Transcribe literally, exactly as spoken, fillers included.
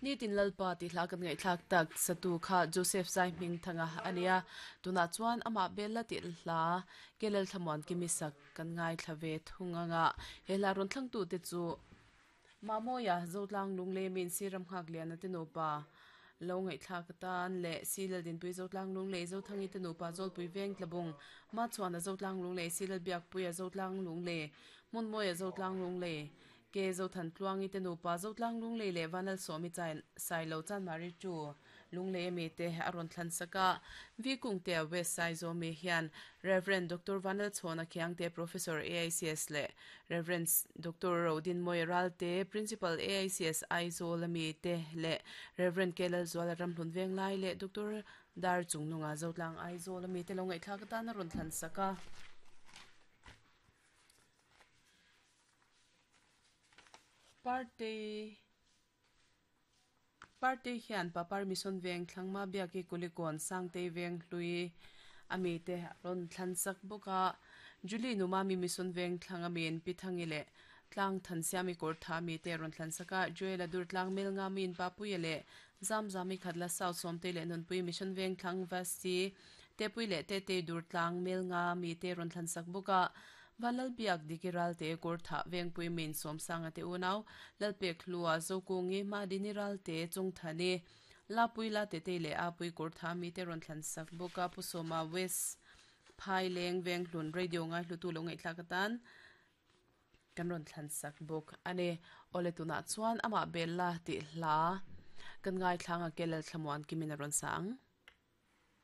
Nitin lalpa ti hla kan ngai thlak tak satu kha Joseph Zai hming thanga ania tuna chuan ama bella ti hla kelel thlamuan kimisak kan ngai thlave thunganga hela ron thlang tu te chu mamoya zotlang lungle min siram khak lian ate nupa lo ngai thlak tan le silal din pui zotlang lungle zo thangi te nupa zolpui veng tlabung ma chuan a zotlang lungle silal biak puia zotlang lungle mun moya zotlang lungle ke zo than tluangi te nupa zotlang lungle le vanal somi chain sailo chan mari chu lungle mi te aron thlan saka vi kung te west sai zo mi hian Reverend Doctor Vanal Chhona Khiang te Professor A I C S le Reverend Doctor Rodin Moiral te Principal A I C S Aizawl ami te le Reverend Kelal Zuala Ramhlun Venglai le Doctor Dar Chungnunga Zotlang Aizawl ami te lo ngai thlak tan aron thlan saka. Party party hian papar mission veng thlangma biaki kulikon sangte veng hlui ami te ron thlan sak boka Julie numa mi mission veng thlanga min pithangi le tlang than siami kor tha mi te ron thlan saka. Joel dur tlang mel nga min papuya le zam zami khatla south somte le nunpui mission veng thlang vasti te pui le te te dur tlang mel nga mi te ron thlan sak boka. Vanlal biak dikiral te kor tha veng pui min som sanga te unaw lalpe khlua zokungi ma diniral te chung thani la pui la te te le a pui kor tha mi te ron thlan sak boka. Pusoma west phai leng veng hlun radio ngai hlutu lo ngai thlakatan kan ron thlan sak bok ane. Ole tuna chuan ama bella ti hla kan ngai thlanga kelal thlamuan kimina ron sang.